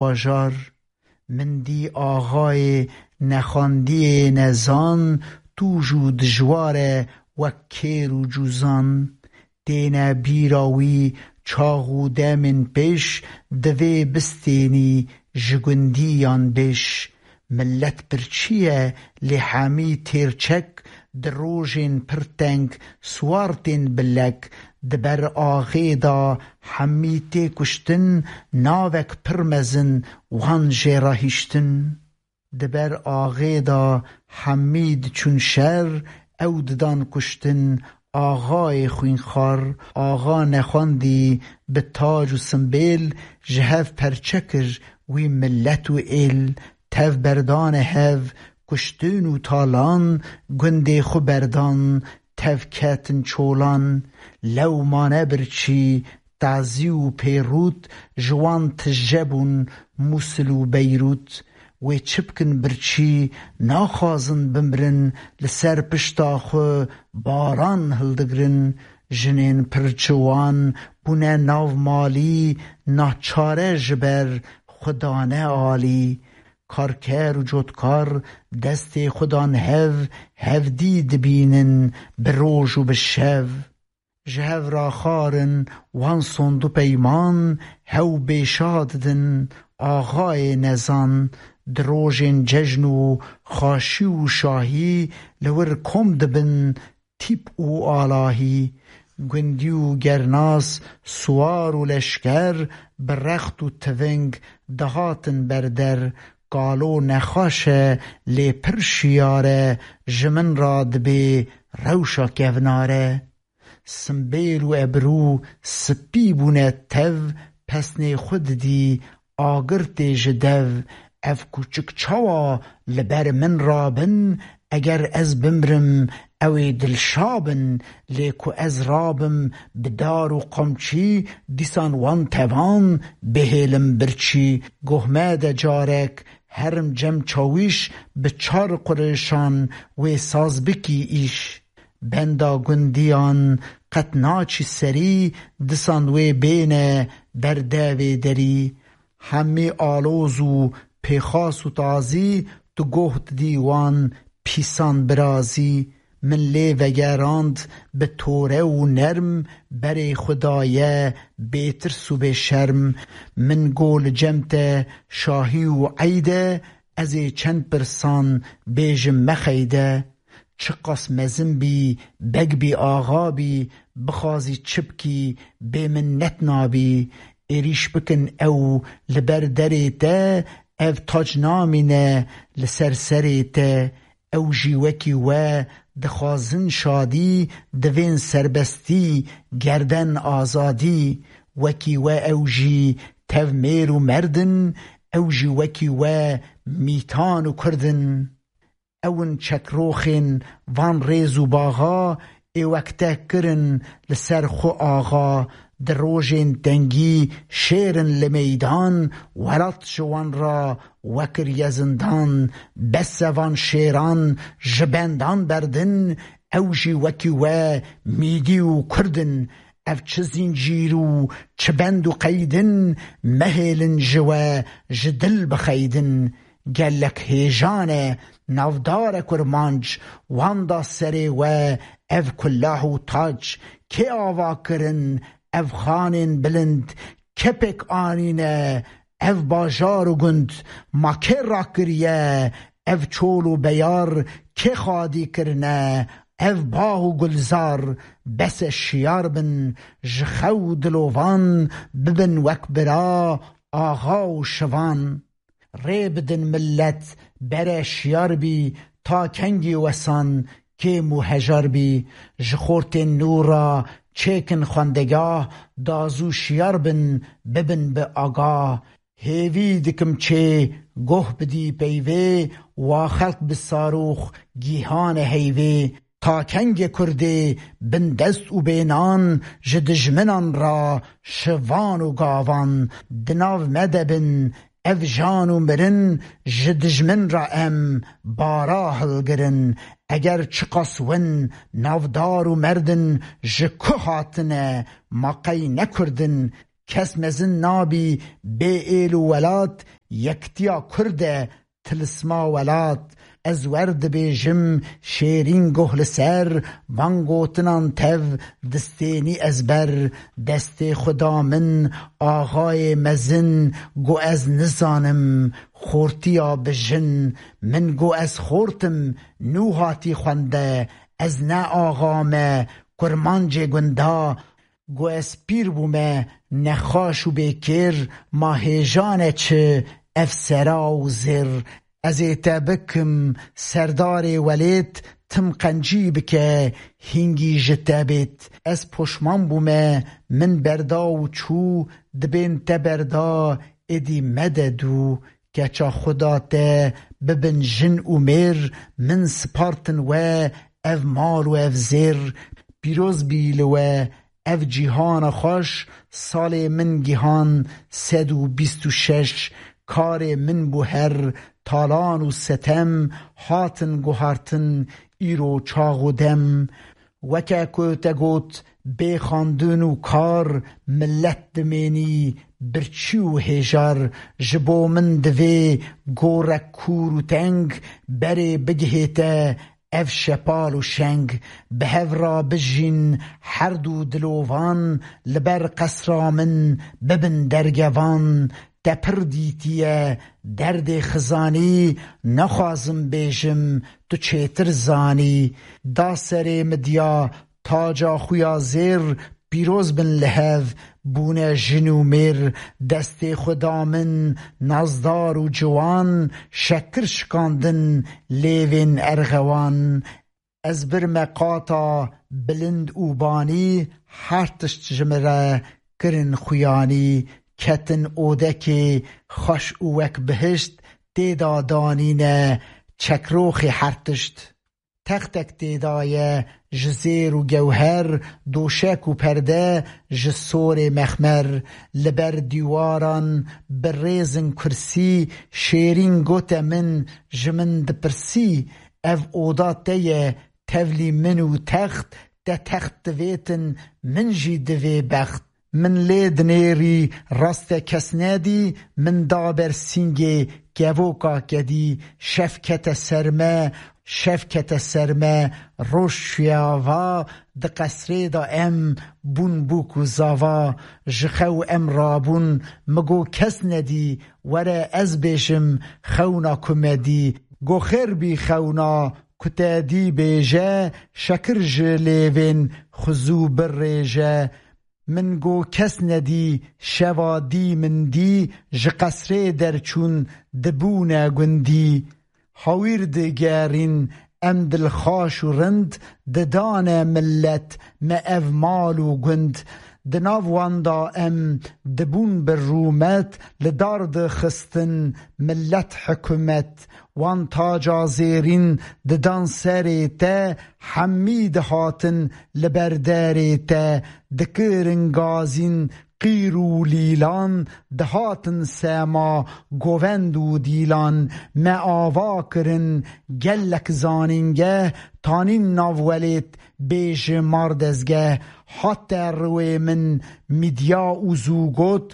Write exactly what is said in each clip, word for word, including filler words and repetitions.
bajar. Min dî axayê nexwendiyê nezan, tûj û dijwar e wek kêr û cûzan. Têne bîra wî çax û demên pêş, divê bistênî ji gundiyan bêş. Millet birçî ye, lê hemî têrçek, di rojên pir teng siwar tên bilek. Di ber axê de hemî tê kuştin, navek pir mezin wan jê re hiştin. Di ber axê de hemî diçûn şer, ew didan kuştin axayê xwînxwar. Axa nexwendî bi tac û simbêl, ji hev perçe kir wî millet û êl. Tev berdane hev, kuştin û talan, gundê xwe berdan, tev ketin çolan. Lew mane birçî, Tazî û Pêrût, ji wan tije bûn Mûsil û Beyrût. Wê çi bikin birçî, naxwazin bimrin, li ser pişta xwe baran hildigrin. Jinên pir ciwan bûne nav malî, naçare ji ber xwe dane alî. Karker û cotkar destê xwe dan hev, hevdî dibînin bi roj û bi şev. Ji hev re xwarin wan sond û peyman, hew bêşa didin axayê nezan. Di rojên cejn û xaşî û şahî, li wir kom dibin tîp û alahî. Gundî û gernas, siwar û leşker, bi rext û tiving dihatin ber der. Kalo nexweş e, lê pir şiyar e, ji min re dibê rewşa kevnar e. Simbêl û ebrû spî bûne tev, pesnê xwe didî agir tê ji dev. Ev kûçik çawa li ber min rabin? Eger ez bimrim, ew ê dilşa bin, lê ku ez rabim bi dar û qamçî, dîsan wan tevan bihêlim birçî. Goh me de carek herim cem çawîş, bi çar qurêşan wê saz bikî îş. Benda gundiyan qet naçî serî, disan wê bêne ber devê derî. Hemî aloz û pêxas û tazî, tu goh didî wan pîsan birazî. Min lê vegerand bi tore û nerm, berê xwe daye bêtirs û bêşerm. Min got li cem te şahî û eyd e, ez ê çend pirsan bêjim mexeyde. Çiqas mezin bî, beg bî, axa bî, bixwazî çi bikî, bêminnet nabî. Êrîş bikin ew li ber derê te, ev tac namîne li ser serê te. Ew jî wekî we dixwazin şadî, divên serbestî, gerden azadî. Wekî we ew jî tev mêr û merd in, ew jî wekî we mîtan û kurd in. Ew in çekroxên van rêz û baxa, ê wek te kirin li ser xwe axa. Di rojên tengî şêr in li meydan, welat ji wan re wekiriye zindan. Bes e van şêran ji bendan berdin, ew jî wekî we mîdî û kurd in. Ev çi zîncîr û çi bend û qeyd in, mehêlin ji we ji dil bixeydin. Gelek hêjan e, navdar e kurmanc, wan da serê we ev kulah û tac. Kê ava kirin ev xanên bilind, kê pêk anîne ev bajar û gund? Ma kê rakiriye ev çol û beyar, kê xadî kirine ev bax û gulzar? Bes e şiyar bin ji xew dilovan, bibin wek bira, axa û şivan. Rê bidin millet, bere şiyar bî, ta kengî wesan kêm û hejar bî? Ji xortên nû re çêkin xwendegah, da zû şiyar bin, bibin bi agah. Hêvî dikim çê goh bidî peyvê, wa xelk bi sarûx gîhane heyvê. Ta kengê Kurdê bindest û bênan, ji dijminan re şivan û gavan? Di nav me de bin ev jan û mirin, ji dijmin re em bara hilgirin. Eger çiqas win navdar û merdin, ji ku hatine, ma qey ne Kurd in? kes mezin nabî bê êl û welat, yektiya Kurd e tilisma welat. Ez wer dibêjim şêrîn goh li ser van gotinan tev distênî ez ber. Destê xwe da min axayê mezin, got ez nizanim xortiya bijin. Min got ez xortim nû hatî xwende, ez ne axa me kurmancê gunda. Got ez pîr bûme nexaş û bêkêr, ma hêjane çi ev sera û zêr. Ez ê te bikim serdarê welêt, tim qencî bike hîngî ji te bêt. Ez poşman bûme min berda û çû, dibên te berda êdî mede dû. Keça Xuda te bibin jin û mêr, min spartin we ev mal û ev zêr. Pîroz bî li we ev cîhana xweş, salê min gihan sed û bîst û şeş. Karê min bû her talan û setem, hatin guhartin îro çax û dem. Weke ku te got, bê xandin û kar, milet dimênî birçî û hêjar. Ji bo min divê gorek kûr û teng, berê bigihê te ev şepal û şeng. Bi hev re bijîn her du dilovan, li ber qesra min bibin dergevan. Te pir dîtiye derdê xizanî, nexwazim bêjim tu çêtir zanî. Da serê midya taca xuya zêr, pîroz bin li hev bûne jin û mêr. Destê xwe da min nazdar û ciwan, şekir şikandin lêvên erxewan. Ez birme qata bilind û banî, her tişt ji min re kirin xuyanî. Ketin odekê xweş û wek bihişt, tê de danîne çekroxê her tişt. Textek tê de ye ji zêr û gewher, doşek û perde ji sorê mexmer. Li ber dîwaran bi rêzin kursî, şêrîn gote min ji min dipirsî, ev oda te ye, tevlî min û text, te text divêtin, min jî divê bext. Min lê dinêrî raste kes nedî, min da ber sîngê kevoka kedî. Şev kete ser me, şev kete ser me, roj çûye ava, di qesrê de em bûn bûk û zava. Ji xew em rabûn, mi got kes nedî, were ez bêjim xewna ku me dî. Got xêr bî xewna ku te dî bêje, şekir ji lêvên xizû birêje. Min got kes nedî, şeva dî min dî, ji qesrê derçûn dibûne gundî. Hawîr digerîn em dilxaş û rind, didane milet me ev mal û gund. Di nav wan de em dibûn bi rûmet, li dar dixistin milet hikûmet. Wan taca zêrîn didan serê te, hemî dihatin li ber derê te, dikirin gazîn qîr û lîlan, dihatin sema govend û dîlan. Me ava kirin gelek zanîngeh, tanîn nav welêt bê ji mar dezgeh. Hate riwê min midya û zû got,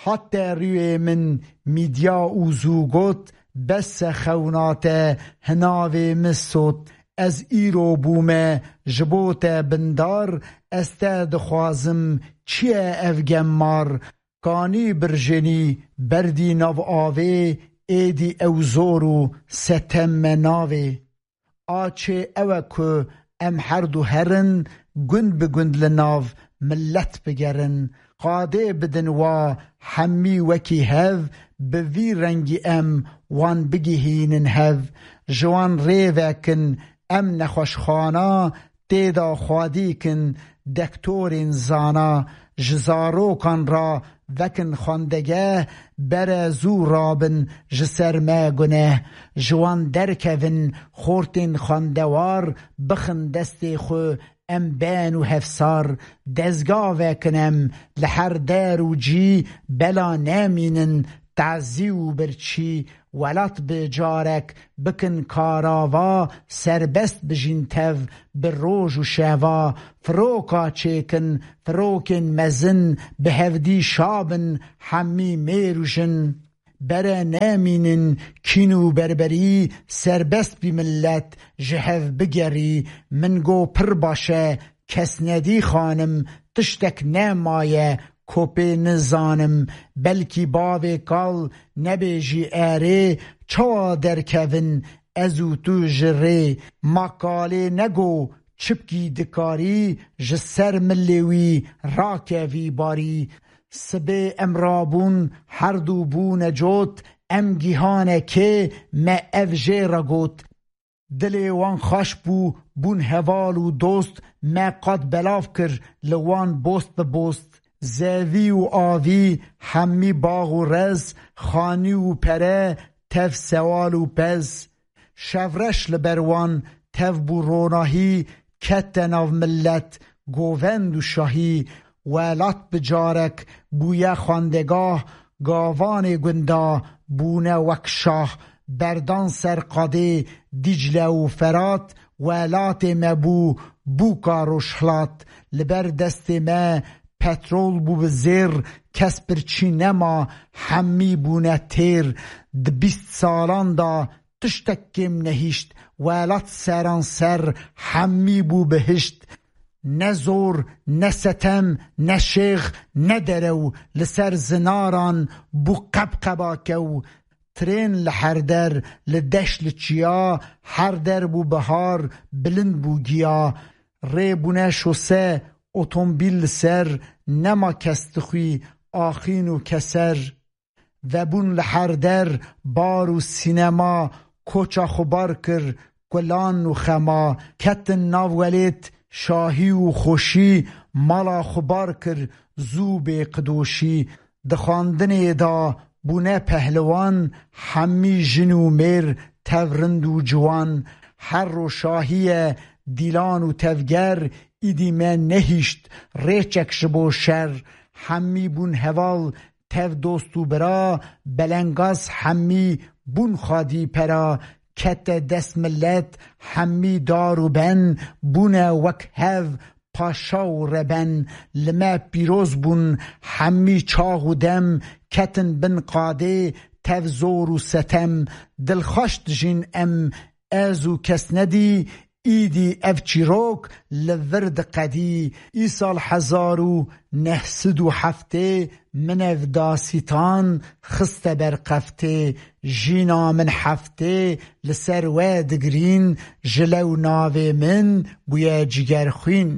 Hate rûyê min mîdya û zû got, bes e xewna te, hinavê min sot. Ez îro bûme ji bo te bindar, ez te dixwazim, çi ye ev gemmar? Kanî birjênî berdî nav avê, êdî ew zor û setem me navê. A çê ew e ku em herdu herin, gund bi gund li nav milet bigerin. Qadê bidin wa hemî wekî hev, bi vî rengî em wan bigihînin hev. Ji wan rê vekin, em nexweşxana, tê de xwedî kin dektorên zana. Ji zarokan re vekin xwendegeh, bere zû rabin ji ser me guneh. Ji wan derkevin xortên xwendewar, bixin destê xwe em ben û hevsar. Dezga vekin em li her der û cî, bela nemînin tazî û birçî, welat bi carek bikin karava, serbest bijîn tev bi roj û şeva, firoka çêkin, firokên mezin bi hevdî şabin, hemî mêr û jin. Bere nemînin kîn û berberî, serbest bî millet ji hev bigerî. Min go pir baş e, kes nedî xanim, tiştek nemaye, kopê nizanim. Belkî bavê kal nebêjî erê, çawa derkevin ez û tu ji rê? Ma kalê nego çipkî dikarî, ji ser milê wî rakevî barî. Sibê em rabûn herdu bûne cot, em gihane kê me ev jê re got. Dilê wan xweş bû, bûn heval û dost, me qat belav kir li wan bost bi bost. Zevî û avî, hemî bax û rez, xanî û pere, tev sewal û pez. Şevreş li ber wan tev bû ronahî, kete nav millet, govend û şahî. Welat bi carek bûye xwendegah, gavanê gunda bûne wek şah. Berdan ser qadê Dîcle û Ferat, welatê me bû bûka rojhilat. Li ber destê me petrol bû bi zêr, kes birçî nema, hemî bûne têr. Di bîst salan de tiştek kêm nehişt, welat seran ser hemî bû bihişt. Ne zor, ne setem, ne şêx, ne derew, li ser zinaran bû qebqeba kew. Trên li her der, li deş li çiya, her der bû bihar, bilind bû giya. Rê bûne şose, otombîl li ser, nema kes dixwî, axîn û keser. Vebûn li her der bar û sînema, koça xwe bar kir kulan û xema. Ketin nav welêt şahî û xweşî, mala xwe bar kir zû bê qidoşî. Di xwendinê de bûne pehliwan, hemî jin û mêr tev rind û ciwan. Her ro şahî ye dîlan û tevger, îdî me nehîşt rêçek ji bo şer. Hemî bûn heval, tev dost û bira, belengaz hemî bûn xwedî pera. Kete dest millet, hemî dar û ben, bûne wek hev paşa û reben. Li me pîroz bûn hemî çax û dem, ketin bin qadê tev zor û setem. Dilxweş dijîn em, ez û kes nedî, îdî ev çîrok li vir diqedî. Îsal hezar û neh sed û heftê min ev dasîtan xiste ber qeftê. Jîna min heftê li ser we digirîn, ji lew navê min bûye Cigerxwîn.